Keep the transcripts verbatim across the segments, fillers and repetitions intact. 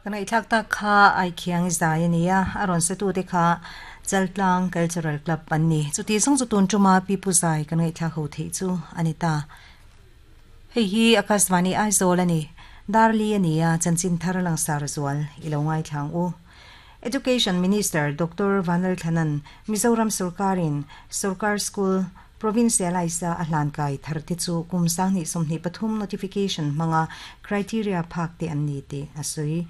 Kan ngaihthlak tak kha ai khiang zai ania a rawn sa tu te kha Chaltlang Cultural Club an ni. Chuti zawng chu tun tuma pipu zai kan ngaihthlak ho theih chu ani ta. Hei hi Akashvani Aizawl ani. Darli ania chanchin thar langsar zual ilo ngai thlang u. Education Minister Doctor Vanlal Thanan Mizoram Sarkarin Sarkar School Provincialize a hlan kai thar te chu kum sang ni somni pathum notification manga criteria phak te an ni te asui.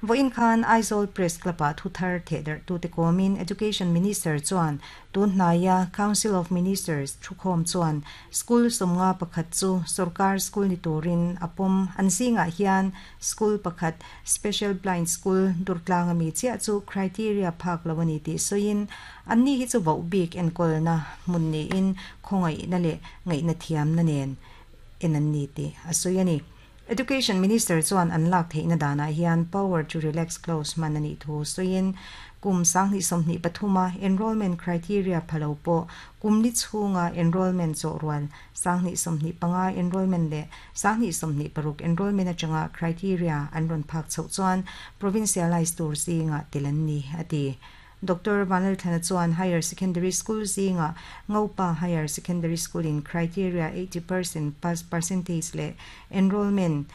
Voin khan Aizawl Press Club a thu thar the der tu te komin Education Minister chuan tun hnaiya Council of Ministers thukhom chuan school somnga pakhat chu sarkar school ni turin apom an zinga hian school pakhat Special Blind School Durtlang ami chia chu criteria phak lawani ti soin anni hi chu vo bik enkol na mun ni in khongai na le ngai na thiam na nen en an ni ti asoyani. Education Minister chuan an lak theihna dana hian power to relax clause man ani thu soin kum sangni somni pathuma enrollment criteria phalo po kumli chhunga enrollment chaw rual sangni somni panga enrollment le sangni somni paruk enrollment atanga criteria an ron phak chho chuan provincialized tur zinga telan ni ati. Doctor Vanlal Thana chuan Higher Secondary School zinga Ngopa Higher Secondary School in criteria eighty percent pass percentage le enrollment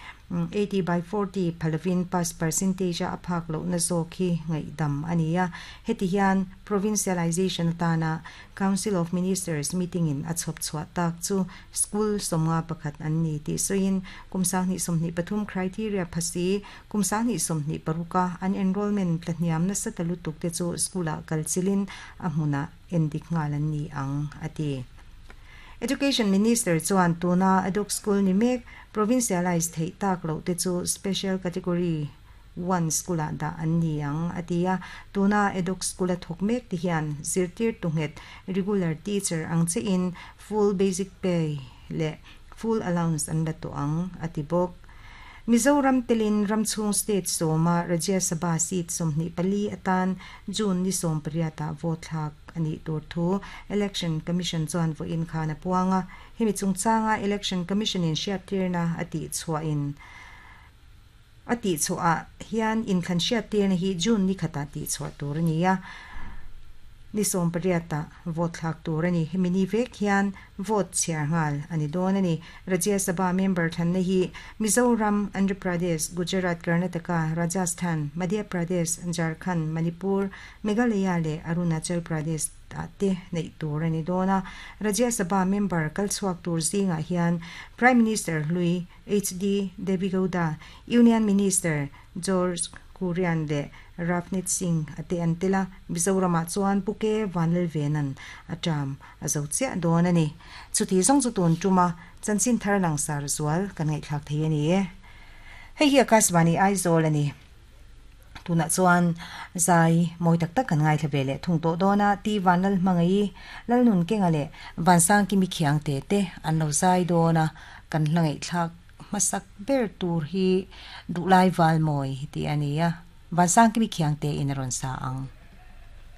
eighty by forty phalovin pass percentage a phak lo na zo khi ngai dam ania. Heti hian provincialization tana Council of Ministers meeting in a chhop chhuah tak chu school somnga pakhat an ni ti soin kum sangni somni pathum criteria phasi kum sangni somni paruka an enrollment tlahniam na satalu tuk te chu school a kalchilin a hmuna endik ngalan ni ang ati. Education Minister chuan tuna aduk school ni mek provincialized thei tak lo te chu special category one school a da an ni ang atia. Tuna eduk school a thok mek ti hian zirtir tunghet regular teacher ang che in full basic pay le full allowance an la to ang ati bok. Mizoram telin Ramchhung State soma Rajya Sabha seat somni pali atan June ni som pariata vote thlak ani tur thu Election Commission chuan vo in khana puanga hemi chungchanga Election Commission in hriattirna ati chhuah in ati chhuah hian in khan hriattirna hi June ni khata ti chhuah tur ania ni som pariata vote thlak tur ani. Hemi ni vek hian vote chhiar ngal ani dawn ani. Rajya Sabha member thlanna hi Mizoram, Andhra Pradesh, Gujarat, Karnataka, Rajasthan, Madhya Pradesh, Jharkhand, Manipur, Meghalaya le Arunachal Pradesh ta te nei tur ani dawna. Rajya Sabha member kalchhuak tur zinga hian Prime Minister Lui H D Devegowda, Union Minister George Kurian le Ravneet Singh ate antela. Mizorama chuan Puke Vanlal Venan atam azo chia dawn ani. Chuti zawng chu tun tuma chanchin thar langsar zual kan ngaihthlak thei ani e. Hei hi Akashvani Aizawl ani. Tuna chuan zai mawi tak tak kan ngaithla ve le thung tawh dawna ti Vanlal hmangai Lalnun kenga le Vansang kimi khiang te te an lo zai dawna kan hla ngaihthlak hmasak ber tur hi duhlai val mawi ti ania. Vansang kimi khiang te in a rawn sa ang.